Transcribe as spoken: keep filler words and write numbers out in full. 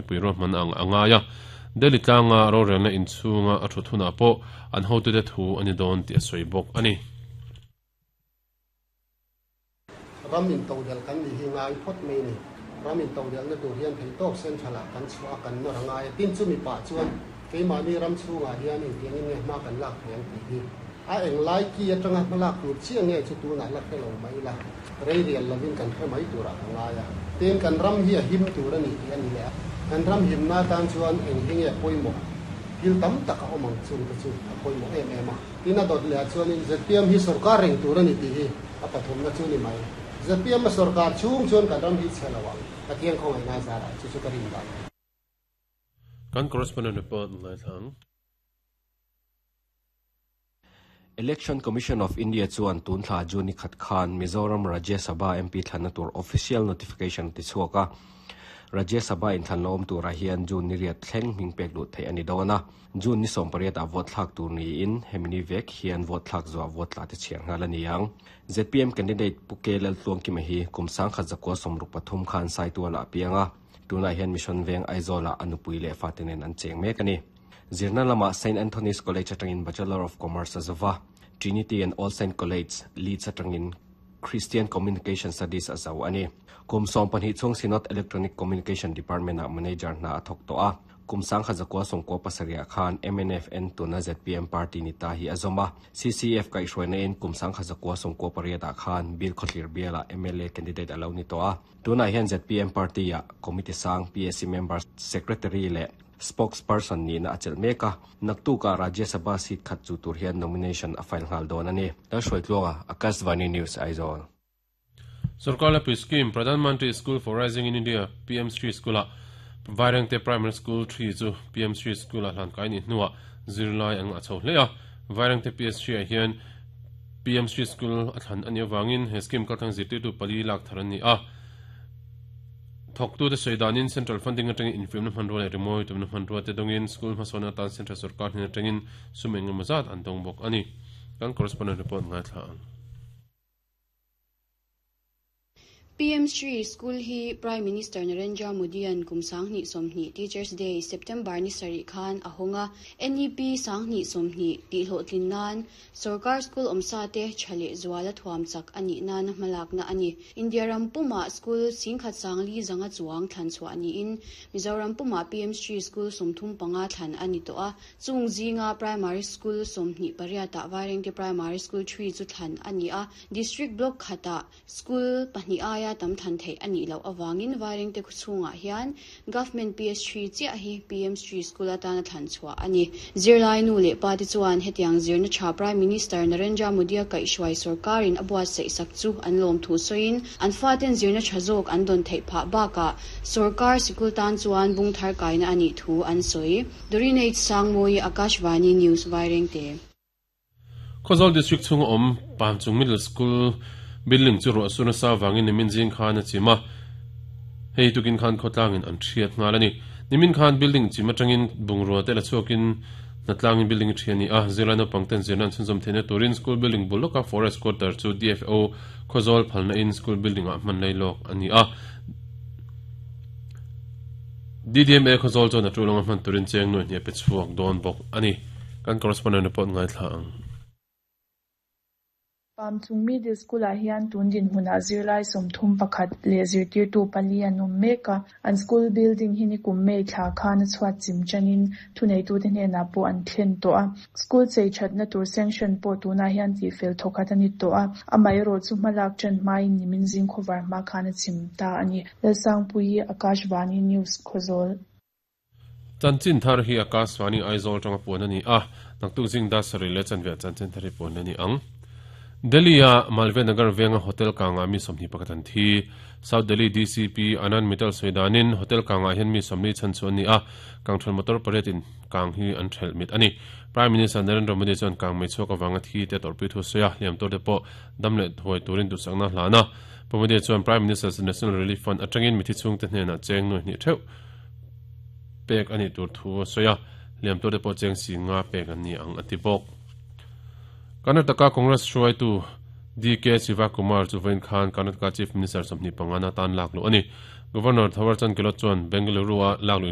mipui ruahman ang a ngai a Delhi tlanga rorelna inchhunga a thu thuna pawh an hotute thu ani dawn tih a sawi bawk ani. Ram in todel kan ni hi ngai phawt mai ni. Ram in todel na tur hian thei tawk central ah kan chhuah a kan nawr a ngai a. Tin chumi pah chuan keimahni ram chhungah hian engtiang in nge hma kan lak thei ang tih hi a eng lai ki atanga hma lak tur chiah nge chu tunah la hre lo mai ila rei rial lovin kan hre mai turah ka ngai a. Tin kan ram hi a him tur a ni tih a ni leh a. Kan ram himna tan chuan eng hi nge pawimawh thil tam tak a awm ang chung te chu a pawimawh em em a. Tin a dawt leh ah chuanin Z P M hi sorkar reng tur a ni tih hi a pathumna chu ni mai. Z P M a sorkar chhung chuan kan ram hi chhe lo ang. Pathian khawngaihna zarah chu chu ka rin dan. Kan correspondent report ngai thlang. Election Commission of India chuan tun thla June ni khat khan Mizoram Rajya Sabha M P thlanna tur official notification ti chhuak a. Rajya Sabha in thlan lo awm turah hian June ni riat thleng hming pek lut theih a ni dawn a. June ni sawm pariat ah vote thlak tur niin hemi ni vek hian vote thlak zuah vote tla te chhiar nghal a ni ang. Z P M candidate Pu K Lal Tluang Kima hi kum sang khat zakua sawmruk pathum khan Saituala a piang a. Tunah hian Mission Veng Aizawl ah a nupui leh fate nen an cheng mek a ni. Zirna lamah Saint Anthony's College atangin Bachelor of Commerce a zova. Trinity and All Saint College, Leeds atangin Christian Communication Studies a zo a ni. Kum sawm pahnih chhung Synod Electronic Communication Department ah manager hna a thawk tawh a. Kum sang khat zakua sawmkua pasarih khan M N F N tuna Z P M party ni ta hi a zawm a. C C F kaihhruaina in kum sang khat zakua sawmkua pariat ah khan Bill Khawthlir biala M L A candidate a lo ni tawh a. Tunah hian Z P M party ah committee sang P S C member secretary leh spokesperson nihna a chelh mek a. Naktuka Rajya Sabha seat khat chu tur hian nomination a file nghal dawn a ni. Lalhruaitluanga, Akashvani News, Aizawl. Sarkar Lapui Scheme, Pradhan Mantri School for Rising in India, P M Shri School ah Vairengte Primary School three chu P M Shri School ah hlan kai ni hnuah zirlai ang a chho hle a. Vairengte P S Shri ah hian P M Shri School a thlan a nih avangin he scheme kaltlang zirtirtu pali lak thar an ni a. Thawktu te sawi danin central funding atangin infiamna hmanrua leh rimawi tumna hmanrua te dawngin school hmasawnna atan central sarkar hnen atangin sum eng emaw zat an dawng bawk a ni. Kan correspondent report ngaithla ang. P M Shri School hi Prime Minister Narendra Modi an kum sanghnih sawmhnih Teachers Day September ni sarih khan a hawng a. N E P sanghnih sawmhnih tih hlawhtlin nan sarkar school awmsa te tha leh zuala thuam chak a nih nana hmalakna a ni. India ram pumah school singkhat sangli zanga chuang thlan chhuah niin Mizoram pumah P M Shri School sawmthum panga thlan a ni tawh a. Chung zinga primary school sawmhnih pariatah Vairengte Primary School three chu thlan a ni a. District block khatah school pahnih aia tam than theih a nih loh awangin Vairengte chhungah hian government P S three chiah hi P M Shri School atana thlan chhuah a ni. Zirlai nu leh pa te chuan hetiang zirna tha Prime Minister Narendra Modi a kaihhruai sarkarin a buatsaih sak chu an lawm thu sawiin an faten zirna tha zawk an dawn theih phah bakah sarkar sikul tan chuan bung thar kaina a nih thu an sawi. Doreen H. Sangmawi, Akashvani News, Vairengte. Khawzawl District chhunga awm Pamchung Middle School building chu ruah suna sa wangin nimin zing khan a chim a. Hei tukin khan khawtlangin an thiat nghal a ni. Nimin khan building chim atangin bungrua te la chhuakin hnatlangin building thian ni a. Zirlai naupang ten zirna an chhunzawm theihna turin school building bul lawka forest quarter chu D F O Khawzawl phalna in school building ah hman lai lawk a ni a. D D M A Khawzawl chuan a tulanga hman turin cheng nuai hniah pe chhuak dawn bawk a ni. Kan correspondent report ngaithla ang. Pamchung Middle School ah hian tun dinhmunah zirlai sawmthum pakhat leh zirtirtu pali an awm mek a. An school building hi ni kum mei thla khan a chhuat chim chanin thuneitu te hnenah pawh an thlen tawh a. School chei thatna tur sanction pawh tunah hian tih fel thawkhat a ni tawh a. Amah erawh chu hmalak ṭan hmain nimin zing khawvar hma khan a chim ta a ni. Lalsangpui, Akashvani News, Khawzawl. Chanchin thar hi Akashvani Aizawl tanga puan a ni a. Naktuk zing da sarih leh chanve chanchin thar hi puan a ni ang. Delhi a Malviya Nagar venga hotel kanga mi sawmhnih pakhat an thi. South Delhi D C P Anand Mittal sawidanin hotel kanga hian mi sawmli chan chu an ni a. Kangthal motor pariat in kang hi an thelh mit a ni. Prime Minister Narendra Modi chuan kang mei chhuak awanga thi te torpui thu sawi a. Hliam tur te pawh dam leh huai turin duhsakna hlan a. Pu Modi chuan Prime Minister's National Relief Fund atangin mithi chhung te hnenah cheng nuai hnih theuh pek ani tur thu a sawi a. Hliam tur te pawh cheng si nga pek an ni ang a ti bawk. Karnataka Congress hruaitu D K Shivakumar chu vawiin khan Karnataka Chief Minister sawmhnih pangana tan lak luh a ni. Governor Thawarchand Gehlot chuan Bengaluru a lak luh